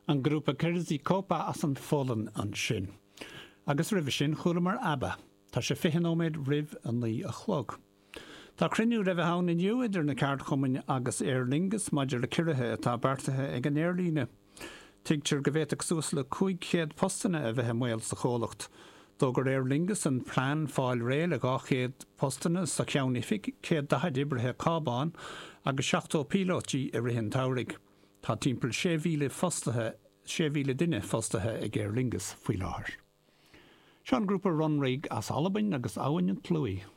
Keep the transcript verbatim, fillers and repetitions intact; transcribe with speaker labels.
Speaker 1: An grúpa Kerzy Kopa as an Pholainn ansin. Agus roimhe sin chualamar ABBA. Tá sé fiche nóiméad roimh a naoi a chlog. Tá cruinniú le bheith ann inniu idir na ceardchumainn agus Aer Lingus maidir le ciorruithe atá beartaithe ag an aerlíne. Tuigtear go bhféadfadh suas le cúig chéad postanna a bheith i mbaol sa chomhlacht. D'fhógair Aer Lingus an plean fáil réidh le dhá chéad postanna sa cheannoifig, céad daichead oibrithe cábán agus seachtó píolótaí i rith an tsamhraidh. Tá timpeall sé mhíle fostaithe sé mhíle duine fostaithe ag Aer Lingus faoi láthair. Seo an grúpa Runrig as Albain agus Abhainn an tSlúigh.